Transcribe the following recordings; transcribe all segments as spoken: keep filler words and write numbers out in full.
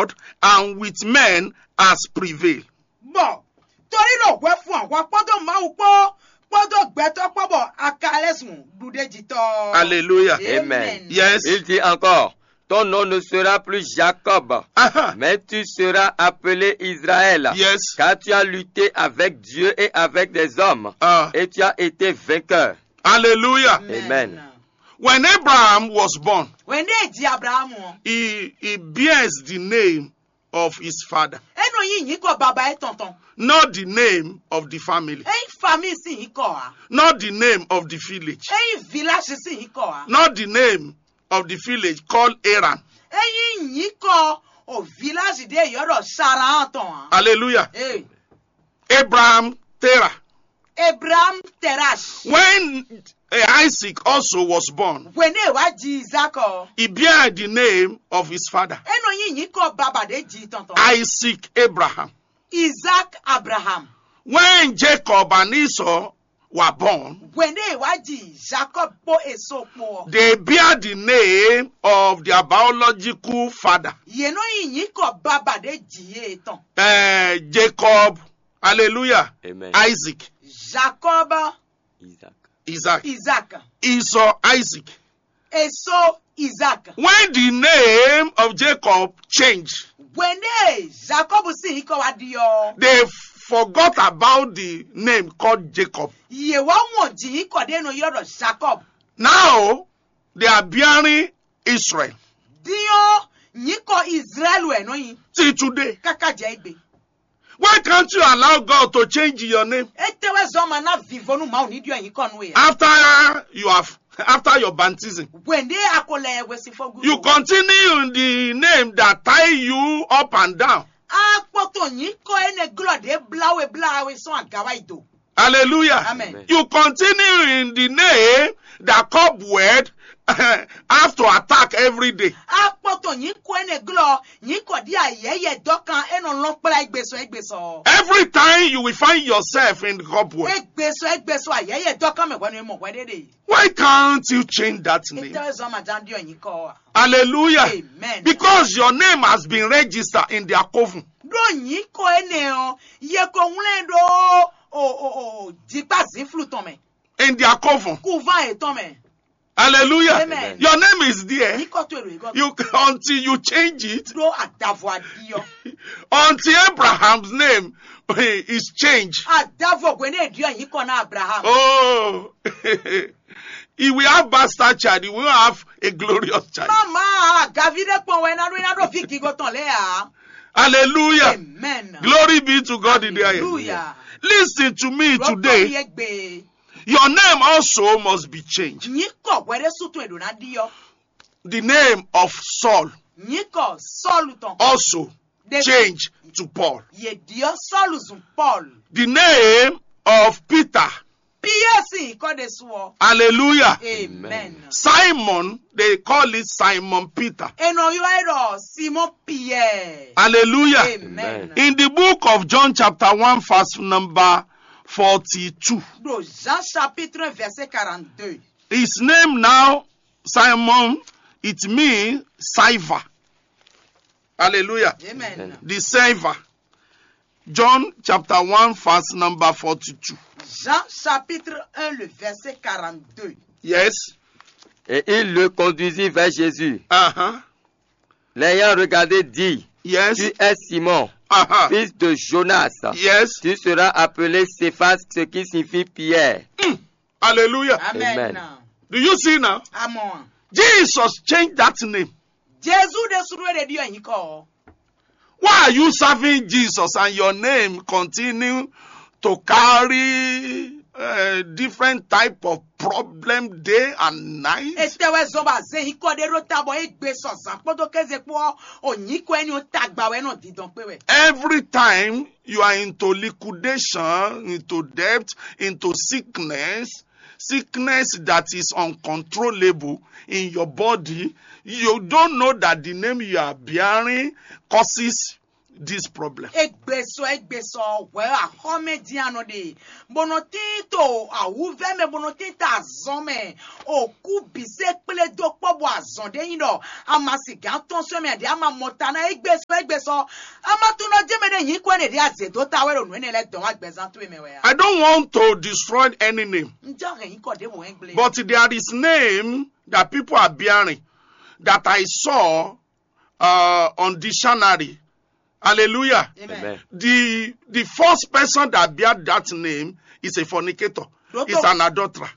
God and with men has prevailed. Bɔ torí ɖo hwɛ fun ahwa kpódó Mawu kpó kpódó gbɛtɔ́ kpó bɔ a ka lɛ́ zun ɖuɖéjitɔ́. Hallelujah. Amen. Yes. Il dit encore, ton nom ne sera plus Jacob, mais tu seras appelé Israël, yes, car tu as lutté avec Dieu et avec des hommes, ah, et tu as été vainqueur. Hallelujah. Amen. When Abraham was born, when they ji Abraham, he, he bears the name of his father, eno yi nyiko baba e tonton, not the name of the family, eyi famille si nyiko a, not the name of the village, eyi village si nyiko a, not the name of the village called Haran. Eyi nyiko o village de yoro Saran ton a. Hallelujah. Hey. Abraham Terah. Abraham Terash. When eh, Isaac also was born, Wene wa ji Isaac o, He bear the name of his father, eno yi nyiko baba de ji tonton, Isaac Abraham. Isaac Abraham. When Jacob and Esau were born, Wene wa ji Jacob po Esau po. They bear the name of their biological father. Ye no yi nyiko baba de ji ye ton. Eh, Jacob, hallelujah, amen, Isaac, Jacob, Isaac, Isaac, Isaac, Esau, Isaac. Esau, Isaac. When the name of Jacob changed, Wene Jacob si nyiko wa di o, they forgot about the name called Jacob. Ye wa won ji nyiko de no yoro Jacob. Now they are bearing Israel. Dio nyiko Israel we no yi. Till today. Kaka je igbe. Why can't you allow God to change your name? Etewe zoma na vivonu Mawu ni dio nyiko nu ya. After you have, after your baptism, Wende akole we si fogu. You continue in the name that tie you up and down. Akpoto nyiko ene glo de blawe blawe son agawa ido. Hallelujah. Amen. You continue in the name that cobweb have to attack every day. Akpoto nyiko ene glo nyiko di ayeye dokan eno lon kpla egbeso egbeso. Every time you will find yourself in cobweb. Egbeso egbeso ayeye dokan me wenu mo wedede. Why can't you change that name? Ite zoma jan dio nyiko. Hallelujah. Amen. Because your name has been registered in their coven. Do nyiko ene o ye ko wlen do o o o jikpa zinflu tɔn mɛ. In their coven. Kuvan etɔn mɛ. Hallelujah. Amen. Your name is there. Nyiko to ero ego. You until you change it. Do adavo adio. Until Abraham's name is changed. Adavo gwene dio nyiko na Abraham. Oh. He will have bastard child. He will have a glorious child. Mama, gavide pon we na do na do fi gigo ton le a. Hallelujah. Amen. Glory be to God in the highest. Hallelujah. Listen to me today. Your name also must be changed. Nyiko were su tun edo na dio. The name of Saul. Nyiko Saul ton. Also change to Paul. Ye dio Saul zun Paul. The name of Peter. Pierre si ko de suo. Hallelujah. Amen. Simon, they call it Simon Peter. Eno yo ero Simon Pierre. Hallelujah. Amen. In the book of John chapter one verse number forty-two. Do Jean chapitre un verset quarante-deux. His name now, Simon, it means silver. Hallelujah. Amen. The silver. John chapter one verse number forty-two. Jean chapitre un le verset quarante-deux. Yes. Et il le conduisit vers Jésus. Uh-huh. L'ayant regardé, dit, yes, tu es Simon, uh-huh, fils de Jonas. Yes. Tu seras appelé Céphas, ce qui signifie Pierre. Mm. Hallelujah. Amen. Amen. Do you see now? Amon. Jesus changed that name. Jesu de suru de dio nyiko. Why are you serving Jesus and your name continue to carry uh, different type of problem day and night? Etewe zoba ze nyiko de ro tabo egbe so zan kpodo keze kpo o nyiko eni o tagba we no didon pe we. Every time you are into liquidation, into debt, into sickness, sickness that is uncontrollable in your body, you don't know that the name you are bearing causes this problem. Egbesɔ egbesɔ hwɛ axɔmɛ dín anɔ ɖe, bó nɔ tín to awúvɛ́ mɛ, bó nɔ tín to azɔn mɛ, òkú bǐ se kplé dó kpɔ́ bɔ azɔn ɖé nyí ɖɔ a ma sigǎn tɔn sɔ́ mɛ ɖě a ma mɔ ta ná egbesɔ egbesɔ. A ma tunɔ jɛ́n mɛ ɖé nyǐkɔ ɛnɛ ɖě a zě dó ta wɛ ɖo nǔ énɛ́ lɛ́ɛ dɔn wá gbɛzán towe mɛ wɛ a? I don't want to destroy any name, Un jɔ hɛn nyǐkɔ ɖěvo hɛn gblé. But there is name that people are bearing that I saw uh, on dictionary. Hallelujah. Amen. Amen. The the first person that bear that name is a fornicator. Is an adulterer.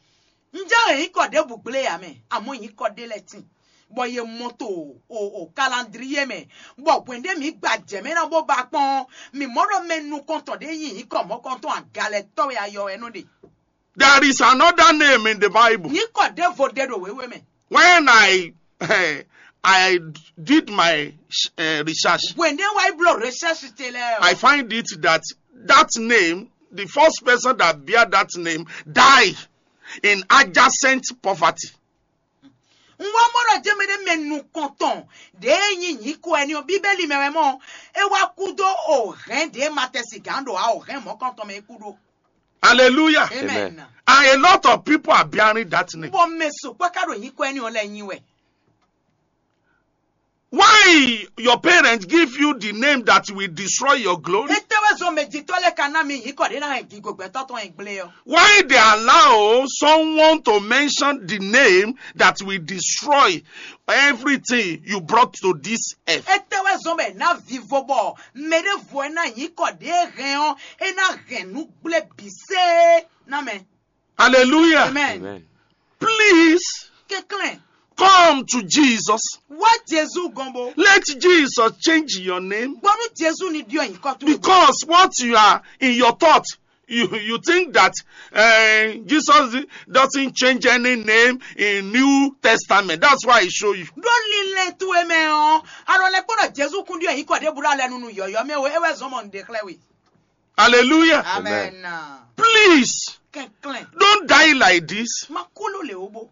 Un jɔ hɛn nyǐkɔ ɖěvo gblé ya mɛ, àmọ́ nyǐkɔ ɖé lɛ́ɛ tín. Bɔ yě mɔ to o o calendrier mɛ, bɔ hwɛ̌n ɖé mǐ gba jɛ mɛ ná bó ba kpɔ́n, mǐ mɔ ɖɔ mɛ nukɔntɔn ɖé nyi nyǐkɔ mɔ̌kɔntɔn agalɛtɔ́ wɛ ayɔ wɛ nɔ ɖe. There is another name in the Bible. Nyǐkɔ ɖěvo ɖe ɖo wěwe mɛ. When I I did my uh, research, Hwɛ̌n ɖé wá yi bló recherche te lɛ́ɛ I o. Find it that that name, the first person that bear that name, die in adjacent poverty. Un wá mɔ ɖɔ jɛ́n mɛ ɖé mɛ nukɔntɔn ɖě e nyí nyǐkɔ ɛni ɔ́, Bíbélì mɛ wɛ mɔ, é wá kú dó o hɛ̌n ɖě ma tɛ sigǎn ɖo a o hɛ̌n mɔ̌kɔntɔn mɛ é kú ɖó. Hallelujah. Amen. Amen. And a lot of people are bearing that name. Bɔ mɛ sukpɔ́ ká ɖo nyǐkɔ ɛni ɔ́ lɛ́ɛ nyi wɛ. Why your parents give you the name that will destroy your glory? Étɛ́ wɛ zɔn mɛ jitɔ́ lɛ́ɛ ka ná mi nyǐkɔ ɖé ná hɛn gigo gbɛtɔ́ tɔn e gblé ɔ́? Why they allow someone to mention the name that will destroy everything you brought to this earth? Étɛ́ wɛ zɔn bɔ è nǎ vivo bɔ mɛ ɖěvo e ná nyǐkɔ ɖě e hɛn ɔ́, é ná hɛn nǔ gblé bǐ sée ná mɛ? Hallelujah. Amen. Amen. Please Kɛnklɛ́n, come to Jesus. Wá Jezu gɔn bo. Let Jesus change your name. Gbɔnú Jezu ni ɖyɔ nyǐkɔ towe. Because what you are in your thought, you you think that uh, Jesus doesn't change any name in New Testament. That's why I show you. Ɖó linlɛn towe mɛ ɔ́, alɔ lɛ kpɔ́n ɖɔ Jezu kún ɖyɔ nyǐkɔ ɖěbǔ ɖo alɛ nunu yɔ̌yɔ́ mɛ o, é wɛ zɔn mɔ un ɖe xlɛ́ we. Hallelujah. Amen. Please, Kɛnklɛ́n, don't die like this. Ma kú ló lè ó bó.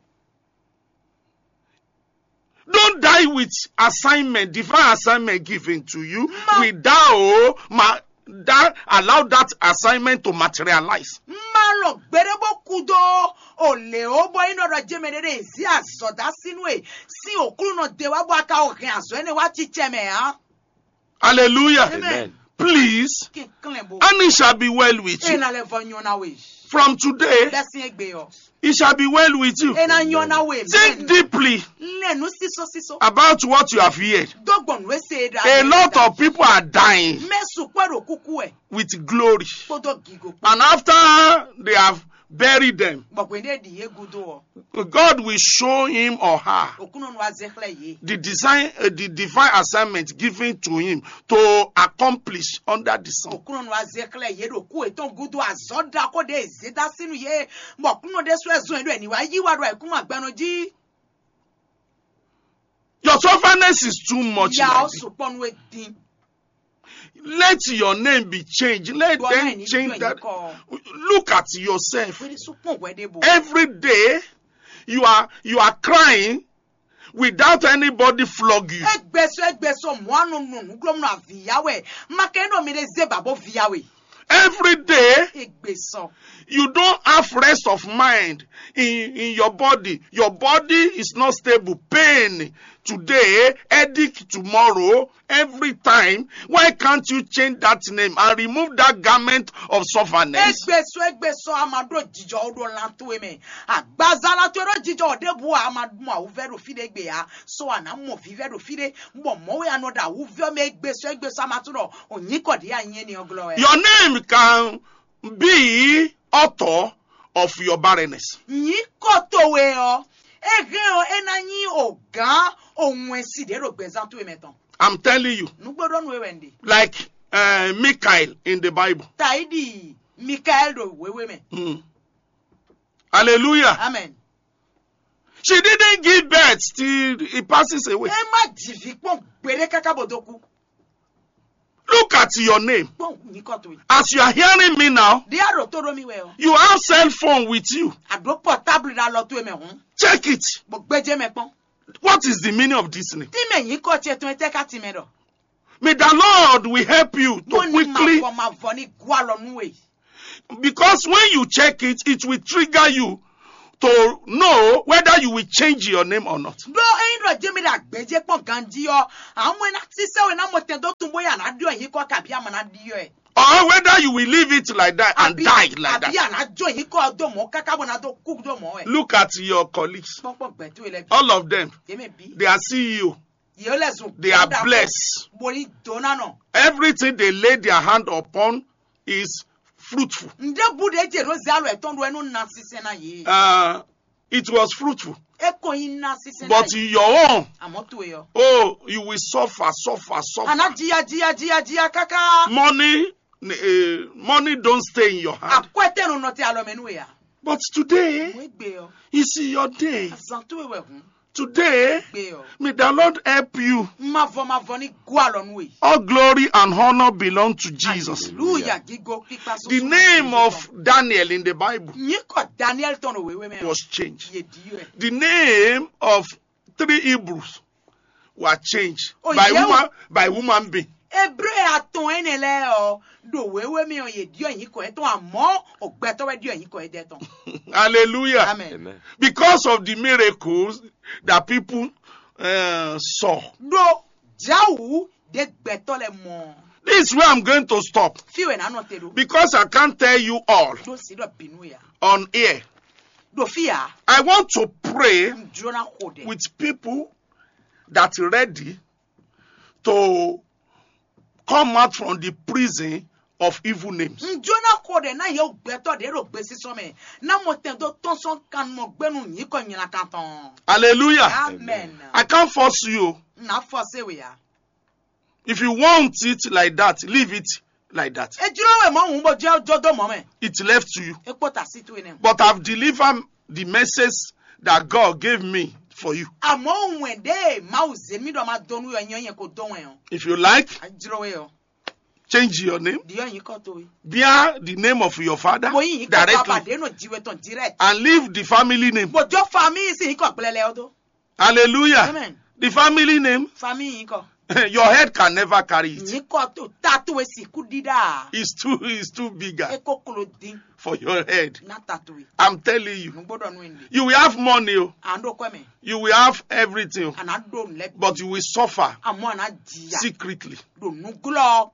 Don't die with assignment, divine assignment given to you Ma- without ma, that allow that assignment to materialize. Má lɔ gbéɖé bó kú dó o lě ó bɔ é nɔ ɖɔ jɛmɛ ɖé ɖé zí azɔ̌ dó asínú e sín òklúnɔ de wá bɔ a ka o hɛn azɔ̌ énɛ́ wá cícɛ mɛ ǎ. Hallelujah. Amen. Please, Kɛnklɛ́n bó. And it shall be well with you. Ena lɛ vɔ nyɔ na we. From today, Bɛ sin egbe ɔ. It shall be well with you. Ena nyɔ na we. Think deeply Lɛ nu siso siso. About what you have heard. Dó gbɔn nu ese da. A lot of people are dying Mɛ sukpɔ ɖo kuku ɛ. With glory. Kpódó gigo kpó. And after they have buried them, Bɔ̀gbìn ɖe ɖi yé gudo ɔ. God will show him or her Òkúnnɔnu wa zɛ xlɛ yé. The design, uh, the divine assignment given to him to accomplish under the sun. Òkúnnɔnu wa zɛ xlɛ yé ɖo kú ètò gudo azɔ da kó de zé da sínú yé. Bɔ kúnnɔ ɖe sɔ ɛzɔn yé ɖo ɛni wa yí wa ɖo àìkúnnɔ agbɛnɔ jí. Your stubbornness is too much. Ya like ọ this. Sukpɔ nu e dín. Let your name be changed. Let Bɔ them náà ní change gbìyànjú that. Kọ. Look at yourself. Wíri sukpɔ wɛ de bo. Every day you are you are crying without anybody flog you. Egbeso egbeso mɔanu nunu glomna viyawe. Makendo mi de zeba bo viyawe. Every day Egbeso. You don't have rest of mind in, in your body. Your body is not stable. Pain today, headache tomorrow, every time. Why can't you change that name and remove that garment of stubbornness? Egbeso egbeso amado jijɔ odo lanto eme. Agbaza lanto edo jijɔ odebu amadu awuvɛ do fi de gbe ya. So ana mo vivɛ do fi de. Bɔ mɔwe anɔ da awuvɛ me egbeso egbeso amatu do. Onyikɔ di anye ni oglɔ ɛ. Your name can be author of your barrenness. Nyǐkɔ towe ɔ́, é hɛn ɔ́ é ná nyí ògán òun ɛ si ɖě ɖo gbɛzán towe mɛ tɔn. I'm telling you, Nǔgbó ɖɔ nú we wɛ un ɖe. Like uh, Michael in the Bible. Taidi Mikael ɖo wéwé mɛ. Mm. Hallelujah. Amen. She didn't give birth till he passes away. É má jìví kpɔn gbéɖé káká bó dó kú. Look at your name. Kpɔn nyǐkɔ towe. As you are hearing me now, Ɖé a ɖo tó ɖó mi wɛ ɔ. You have cell phone with you. A ɖó portable ɖe alɔ towe mɛ hɔn. Check it. Bɔ gbɛjɛ mɛ kpɔn. What is the meaning of this name? Tí mɛ nyǐkɔ ce tɔn etɛ ká ti mɛ ɖɔ. May the Lord will help you to quickly, Mavɔ mavɔ ní gú alɔ nú we. Because when you check it, it will trigger you to know whether you will change your name or not. Ɖó ényí ɖɔ jɛmi ɖe agbɛjɛ kpɔn ganji ɔ, àwọn ena sísɛ wo ná mɔ tɛn dó tún bóyá ná ɖiɔ yín kɔ kabi ama ná ɖiɔ ɛ. Or whether you will leave it like that and die like that. Àbí àná jó yín kɔ dó mɔ káká bó ná dó kú dó mɔ ɛ. Look at your colleagues. Kpɔkpɔ gbɛtú ilẹ̀ bí. All of them, Yémi bí. They are C E O. Yéé lɛ zùn. They are blessed. Boli dona nɔ. Everything they lay their hand upon is fruitful. Ǹdé bu ɖe jɛ ɖo zalo ɛtɔn ɖo ɛnu na sísɛ na yé. Uh, it was fruitful. E kò yin na sísɛ na But yé. Your own, Àmọ́ to yɔ. Oh, you will suffer, suffer, suffer. Àná jìyà jìyà jìyà jìyà káká. Money, uh, money don't stay in your hand. Àkọ́ ẹ tẹnu nọ tẹ alọ mẹ nú ya. But today Mo gbé ọ. Is your day. Azan tó wẹ̀ hùn. Today, Gbé ọ. May the Lord help you. Mavɔ mavɔ ní gú alɔ nú e. All glory and honor belong to Jesus. Hallelujah. Gígo pípa The name of Daniel in the Bible Yín kɔ Daniel tɔn wéwé mɛ. Was changed. Yé di yɔ ɛ. The name of three Hebrews were changed Oh, by yeah. Woman, by human being. Hébré atɔn ɛnɛ lɛ ɔ ɖo wéwé mɛ ɔ yé diɔ yín kɔ ɛtɔn àmọ́ ògbɛtɔ wɛ diɔ yín kɔ ɛdɛ tɔn. Hallelujah. Amen. Amen. Because of the miracles that people uh, saw. Ɖo jawu ɖe gbɛtɔ lɛ mɔ. This is where I'm going to stop Fi wɛ nanɔ te ɖo. Because I can't tell you all Ɖo si ɖɔ binu ya. On air. Ɖo fi ya. I want to pray N jona xo ɖɛ. With people that ready to come out from the prison of evil names. N jona xo ɖɛ na yewu gbɛtɔ ɖe ɖo gbesisɔ mɛ. Na mo tɛn do tɔn sɔn kan mɔ gbɛnu yín kɔ nyina kan tɔn. Hallelujah. Amen. I can't force you. Na fɔ se we ya. If you want it like that, leave it like that. Ejiro we mɔ hun bo jɛ jɔ do mɔ mɛ. It left to you. Ekpɔ ta si tu enɛ. But I've delivered the message that God gave me for you. Àmọ́ òun ẹ̀ dé máa zè mí dọ̀ máa dọnú yọ yẹn yẹn kò dán wọn yàn. If you like, Àjọrò wẹ̀ yọ. Change your name. Di yọ yín kọ́ tó yìí. Bear the name of your father. Mo yín yín kọ́ bàbá Directly. Dé nù jí wẹ̀ tán direct. And leave the family name. Bòjó family sì yín kọ́ gblẹ́lẹ́ ọdún. Hallelujah. Amen. The family name. Family yín kọ́. Your head can never carry it. Yín kọ́ tó tatu ẹ̀ sì kú dídá. It's too, it's too bigger E kó kolo dín. For your head. Ná tatu ẹ̀. I'm telling you. Nù gbọ́dọ̀ nù ẹ̀ ní. You will have money, oh, À ń dó kọ́ mi. You will have everything, oh, À ná dó nù lẹ́bi. But you will suffer Àmọ́ à ná jìyà. Secretly. Dò nù glọ́.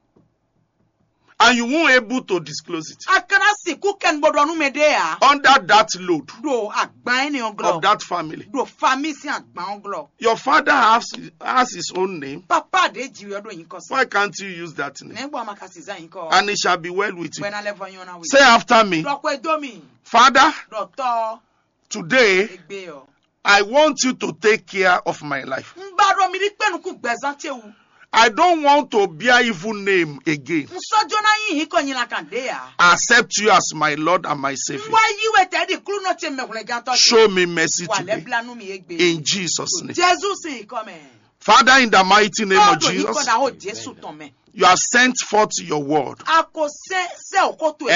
And you won't able to disclose it. A kana sìnkú kẹ́nu gbọ́dọ̀ nù mí dé yà. Under that load Dò àgbà ẹ̀ ní ọgọ́. Of that family. Dò family sí àgbà ọgọ́. Your father has, has his own name. Papa de jì wẹ̀ dó yín kọ́ sí. Why can't you use that name? Nẹ́gbọ́n a ma ka sì zá yín kọ́. And it shall be well with you. Gbẹ̀nà lẹ́fọ̀ yín ọ̀nà wí. Say after me, Dọ̀pọ̀ edó mi. Father, Dọ̀tọ́. Today, Egbe ọ. I want you to take care of my life. N ba ɖo mi ɖi kpɛnukun gbɛzán ce wu. I don't want to bear evil name again. N sɔjɔ na yin hin kɔ nyina kan ɖe ya. I accept you as my Lord and my N Savior. Wa yi wɛ tɛ di klunɔ ce mɛ hwlɛgantɔ ce. Show me mercy Wa lɛ today. Bla nu mi egbe. In Jesus' name. Jesu sin yi kɔ mɛ. Father, in the mighty name of Tɔɔdɔ yi kɔ Jesus, da ho Jesu tɔn mɛ. You have sent forth your word. A ko sɛ sɛ o ko to e.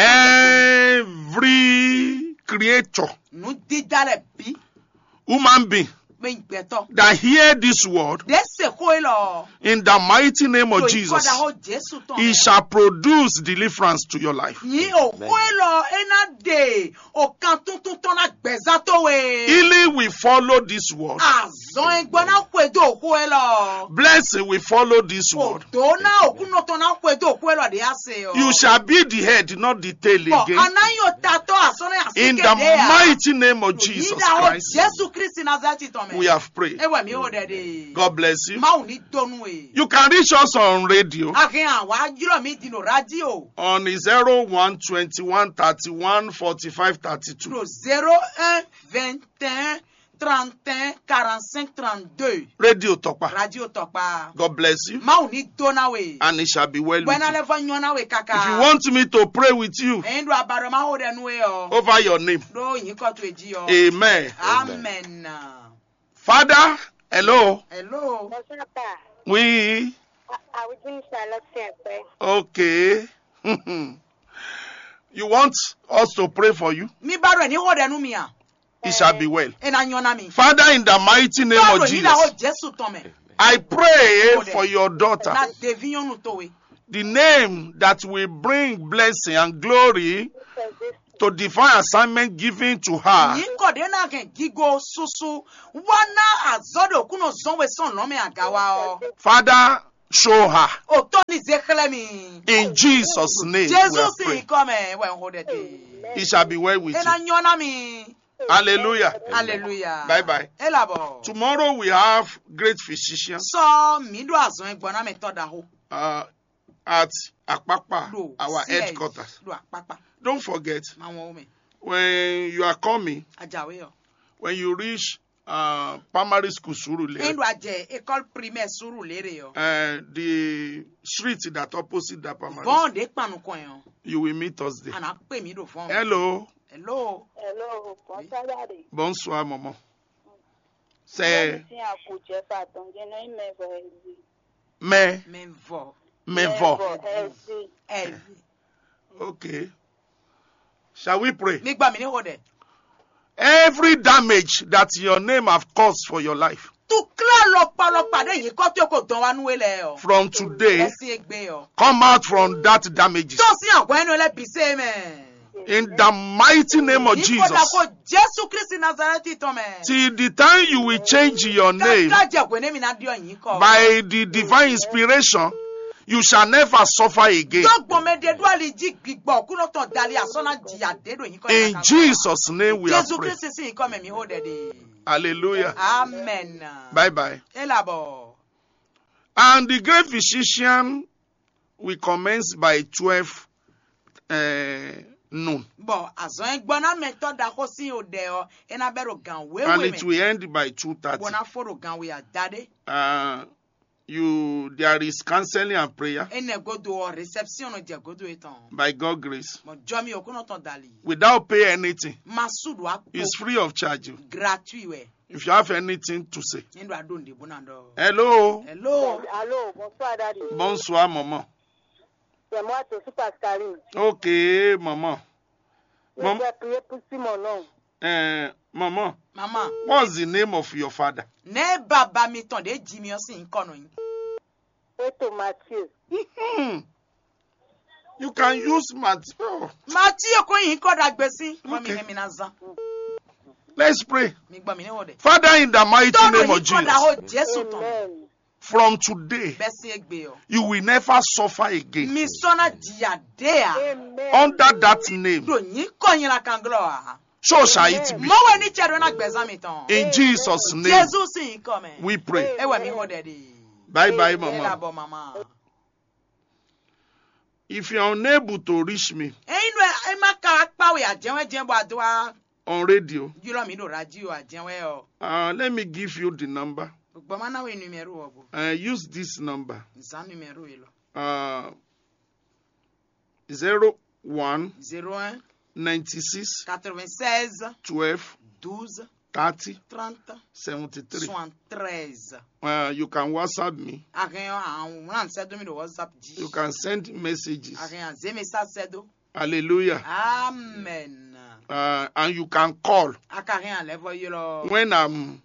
Every creature, Nu dida lɛ bi. Human being, Bɛ gbɛtɔ. That hear this word, De se ko e lɔ. In the mighty name of To yi kɔ Jesus, da ho Jesu tɔn it mɛ. Shall produce deliverance to your life. Nyi o ko e lɔ e na de o kan tuntun tɔn na gbɛza to we. Healing will follow this word. Azɔn e gbɔ na xwe do ko e lɔ. Blessing will follow this O word. do na o kunɔ tɔn na xwe do ko e lɔ de ase o. You shall be the head, not the tail Bɔn again. Ana yi o ta tɔ asɔnɔ ya si In ke the de ya. Mighty name of Jesus Yíyá o Christ, Jesu Kristi Nazareti tɔn mɛ. We have prayed. Ewɛ mi o dɛ de. God bless you. Mawu ni donu e. You can reach us on radio Ahin awa jlɔ mi di no radio. On zero one twenty one thirty one forty five thirty two. Lo zéro un vingt et un trente et un quarante-cinq trente-deux. Radio Tokpa. Radio Tɔkpa. God bless you. Mawu ni dona we. And it shall be well with Bɔna you. Lɛ fɔ nyɔna we kaka. If you want me to pray with you Ɛyin do abaro ma ho dɛ nu e ɔ. Over your name, Do yin kɔ to e ji ɔ. Amen. Amen. Father, hello. Hello. Bonsoir, pa. Oui. Awudini Charlotte Sɛnpɛ. Okay. You want us to pray for you? Mi ba do ni ho dɛ nu mi a. It shall be well. E na nyɔna mi. Father, in the mighty name of Báwo ni da ho Jesus, Jesu tɔn mɛ. I pray for your daughter. Na devi nyɔnu towe. The name that will bring blessing and glory to divine assignment given to her. Nyǐkɔ ɖě ná hɛn gigo susu wá ná azɔ̌ ɖo kúnɔ zɔn we sɔn lɔ̌n mɛ agawa ɔ́. Father, show her. Òtɔ́ ní zé xlɛ́ mi. In Jesus' name we Jésù are sì praying. Kọ́ mɛ wɛ ń xo ɖɛ dé. It shall be well with you. É ná nyɔ́ ná mi. Hallelujah. Hallelujah. Bye bye. É labɔ. Tomorrow we have great physician. Sɔ mí ɖo azɔn gbɔn ná mɛ tɔ ɖaho. Uh, at Akpakpa, our headquarters. Ɖo Akpakpa. Don't forget, ma wɔn wo mɛ. When you are coming, Ajawe yɔ. When you reach uh, primary school Surulere, Endo ajɛ école primaire Surulere yɔ. Uh, the street that opposite that primary school, bɔn de kpanu kɔn yɔ. You will meet us there. Ana pe mi do fɔn. Hello. Hello. Hello, bonsoir, Daddy. Bonsoir, maman. C'est Sin aku Jeff atɔn jɛ nɔ ime vɔ ezi. Mais, mais vɔ. Mais vɔ. Ezi. Ezi. Okay. Shall we pray? Mi gbà mí ní xo dɛ. Every damage that your name have caused for your life, tukla lɔkpalɔkpa ɖe yě kɔ tó kó dɔn wá nú we lɛ ɔ. From today, ɛsì egbe ɔ. Come out from that damages. Tó sí àgọ́ ẹnu lẹ bí sè mẹ́. In the mighty name of Jesus. Yí kó dako Jésù Kristi Nazareti tɔn mɛ. Till the time you will change your name. Káká jẹ hwene mi ná diɔ yín kɔ. By the divine inspiration, you shall never suffer again. Dɔgbɔn mɛ ɖe ɖo ali jí gbigbɔ kúnɔ tɔn dali asɔ ná jìyà dé ɖo yín kɔ. In Jesus' name we are praying. Jésù Kristi sí yín kɔ mɛ mi hó dɛ de. Hallelujah. Amen. Bye bye. Elabɔ. And the great physician will commence by twelve uh, noon. Bɔ azɔn e gbɔ ná mɛtɔ ɖaxó sín o ɖɛ ɔ, é ná bɛ ɖo gan wéwe mɛ. And it will end by two thirty. Bó ná fó ɖo gan wé adaɖé. Uh, you there is counseling and prayer. Enɛ godo ɔ, réception nɔ jɛ godo etɔn. By God grace. Mɔ jɔmi okúnɔ tɔn dali. Without pay anything. Ma su ɖo akpo. It's free of charge. Gratuit wɛ. If you have anything to say. Ní ɖo aɖo ŋɖe bó ná ɖɔ. Hello. Hello. Allô, bonsoir, Daddy. Bonsoir, maman. C'est moi, Tosu Pascaline. Ok, maman. Je vais prier pour si mon nom. Eh, maman. Maman. What's the name of your father? Ne baba mi tɔn de ji mi ɔ sin kɔ nɔ nyi. Eto Mathieu. Hmm. You can use Mathieu. Mathieu ko yin kɔ dagbe si. Mɔ mi hɛn mi na zan. Let's pray. Mi gbɔ mi ne wɔ dɛ. Father, in the mighty name of Jesus. Tɔnɔ yin kɔ da ho Jesu tɔn. Amen. From today, bɛ si egbe ɔ. You will never suffer again. Mi sɔ na jìyà dé a. Amen. Under that name. Do yin kɔ yin la kan glɔ a. So shall it be. Mɔ wɛ ni cɛ do na gbɛzan mi tɔn. In Jesus' name, Jesu si yin kɔ mɛ. We pray. E wɛ mi ho dɛ de. Bye bye, mama. E labɔ mama. If you are unable to reach me, eyin nɔ e ma ka kpa we ajɛwɛ jɛ bɔ a do a. On radio. Ylɔ mi ɖo radio ajɛwɛ ɔ. Uh, let me give you the number. Gbɔ ma na we numéro ɔ bo. Uh, use this number. Zan numéro yi lɔ. Uh, zero one. Zéro un. Ninety six. Quatre-vingt-seize. Twelve. Douze. Thirty. Trente. Seventy three. Soixante-treize. Uh, you can WhatsApp me. Ahɛn ɔ àwọn wúlò sẹ́dó mi ɖo WhatsApp jí. You can send messages. Ahɛn àzé message sẹ́dó. Hallelujah. Amen. Uh, and you can call. A ka hɛn alɛ vɔ ylɔ. When I'm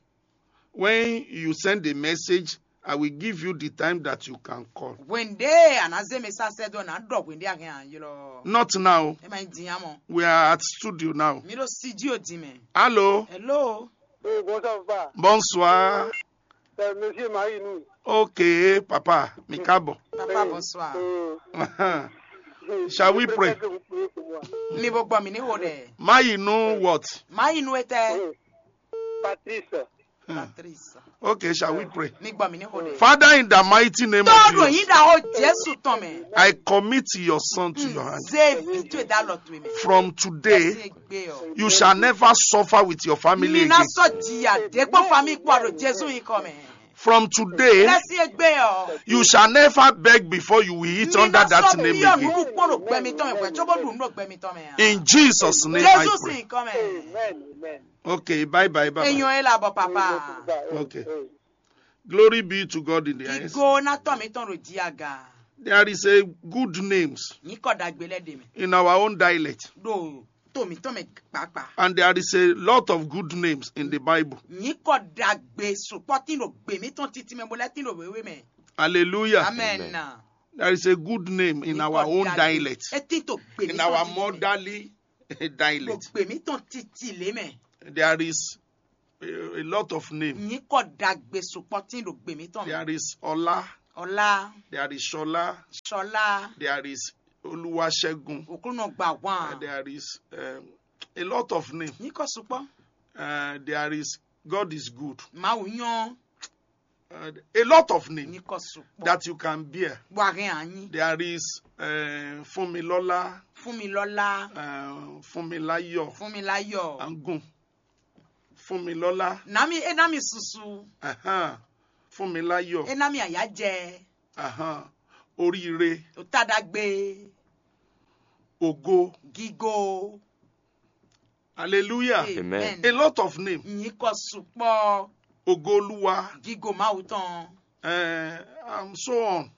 when you send a message, I will give you the time that you can call. Wende anazeme sasɛ dɔ na dɔ wende ahɛn ylɔ. Not now. E ma di amɔ. We are at studio now. Mi ɖo studio di mɛ. Hello. Hello. Oui, bonsoir, papa. Bonsoir. C'est Monsieur Marie, nous. Ok, papa. Mi káàbọ̀. Papa, bonsoir. Shall we pray? Mi bo gbɔ mi ni wo dɛ. Mayi nu what? Mayi nu etɛ. Patrice. Patrice. Okay, shall we pray? Mi gbɔ mi ni wo dɛ. Father, in the mighty name of Jesus, tɔɔdun yin da o Jesu tɔn mɛ. I commit your son to your hand. Zevi to da lɔ to mi. From today, you shall never suffer with your family again. Mi na sɔ jiya de gbɔ fami kpɔ do Jesu yi kɔ mɛ. From today, you shall never beg before you will eat under that name again. In Jesus' name I pray. Okay, bye bye, bye bye. Okay. Glory be to God in the highest. There is a good names. In our own dialect. mǐtɔn mɛ kpakpa. And there is a lot of good names in the Bible. Nyǐkɔ ɖagbe sukpɔ́ tín ɖo gbě mǐtɔn titi mɛ bó lɛ́ tín ɖo wěwé mɛ. Hallelujah. Amen. There is a good name in our own dialect. É tín to gbě mǐtɔn titi mɛ. In our motherly dialect. Ɖo gbě mǐtɔn titi lě mɛ. There is a, a lot of name. Nyǐkɔ ɖagbe sukpɔ́ tín ɖo gbě mǐtɔn mɛ. There is Ola. Ọlá. There is Shola. Ṣọlá. There is Oluwasegun. Òkúnɔ gbà wán. Uh, there is um, a lot of name. Nyǐkɔ sukpɔ́. Uh, there is God is good. Mawu nyɔ́. Uh, a lot of name. Nyǐkɔ sukpɔ́. That you can bear. Wà hɛn anyi. There is uh, Funmilola. Funmilola. Uh, Funmilayo. Funmilayo. Angun. Funmilola. Nami e nami susu. Uh-huh. Funmilayo. E nami ayajɛ. Uh-huh. Oríire. Òtadagbe. Ògo. Gigo. Hallelujah. Amen. A lot of name. Nyǐkɔ sukpɔ́. Ògo Olúwa. Gigo Mawu tɔn. Uh, and so on.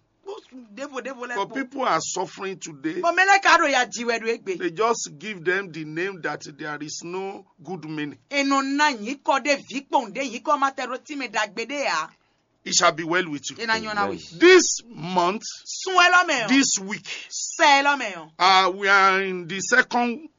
Devo devo lɛ. But people are suffering today. Bɔn mɛ lɛ ka ɖo ya ji wɛ ɖo egbe. They just give them the name that there is no good meaning. Enɔ na nyǐkɔ ɖe vǐ kpɔn ɖe nyǐkɔ ma tɛ ɖo tí mɛ ɖagbe ɖe ya. It shall be well with you. E na nyɔ na we. This month, sun ɛ lɔ mɛ o. This week, sɛ ɛ lɔ mɛ o. Uh, we are in the second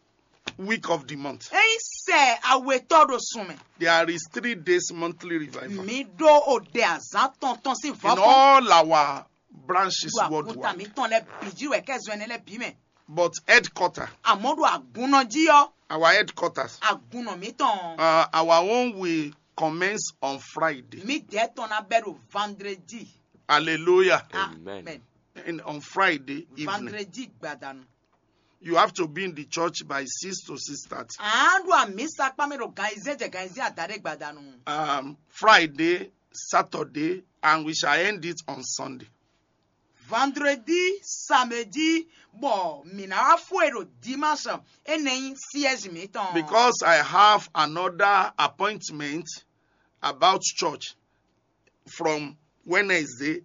week of the month. Eyin sɛ awetɔ ɖo sun mɛ. There is three days monthly revival. Mi ɖo o ɖe azán tɔntɔn sín vɔ. In all our branches worldwide. Àkúta mi tɔn lɛ bì jí wɛ kɛ zɔn ɛnɛ lɛ bì mɛ. But headquarter. Àmọ́ ɖo àgúnná jí ɔ́. Our headquarters. Àgúnná mi tɔn. Uh, our own will commence on Friday. Mi dɛ tɔn na bɛ ɖo vendredi. Hallelujah. Amen. And on Friday evening. Vendredi gbadanu. You have to be in the church by six to six thirty. À ń ɖo àmì sakpá mi ɖo gan ìzé jẹ gan ìzé àdáde gbadanu. Um, Friday, Saturday, and we shall end it on Sunday. Vendredi, samedi, bɔ mǐ ná wá fó e ɖo dimanche énɛ́ nyí siège mǐtɔn. Because I have another appointment about church from Wednesday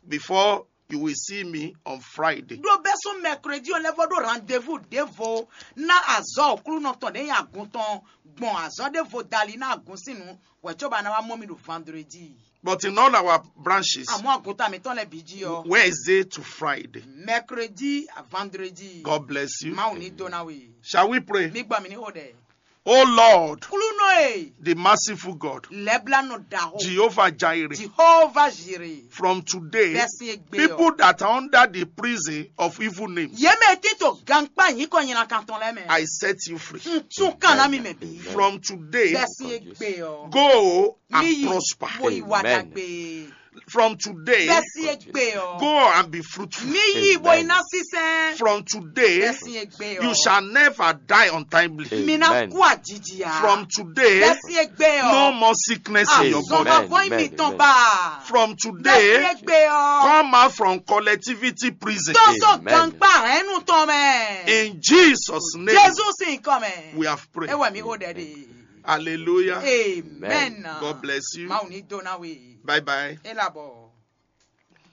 before you will see me on Friday. Ɖó bɛ́ sún mercredi ɔ́ lɛ́ vɔ ɖó rendez-vous ɖěvo ná azɔ̌ òklúnɔ tɔn ɖě nyi agun tɔn gbɔn azɔ̌ ɖěvo dali ná agun sín nǔ wɛ̌ cóbɔ a ná wá mɔ mì ɖo vendredi. But in all our branches, àmọ́ àgùntàn mi tɔn lɛ bǐ jí ɔ. Wednesday to Friday. Mercredi à vendredi. God bless you. Mawu ní dó ná we. Shall we pray? Mi gbà mí ní xo ɖɛ. Oh Lord, Klúnɔ e, the merciful God, lɛblánɔ ɖaxó, Jehovah Jireh, Jehovah Jireh, From today, bɛ́ sín égbé ɔ. People that are under the prison of evil names, Yě mɛ e tito gankpá nyǐkɔ nyina kan tɔn lɛ́ɛ mɛ. I set you free. N tún kan ná mi mɛ bí. From today, bɛ́ sín égbé ɔ. Go and prosper. Mi yi, bo yi wa dagbe. From today, bɛ́ sín égbé ɔ. Go and be fruitful. Mi yi bo yi ná sísɛn. From today, bɛ́ sín égbé ɔ. You shall never die untimely. Mi ná kú àjijì a. From today, bɛ́ sín égbé ɔ. No more sickness in your body. Àzɔn ma bọ́ mi tɔn bá. From today, bɛ́ sín égbé ɔ. Come out from collectivity prison. Tɔ́sọ̀ gankpá hɛnnu tɔn mɛ. In Jesus' name, Jésù sín kɔ mɛ. We have prayed. Ewɛ mi xo ɖɛ de. Hallelujah. Amen. God bless you. Mawu ní dó ná we. Bye bye. E labɔ.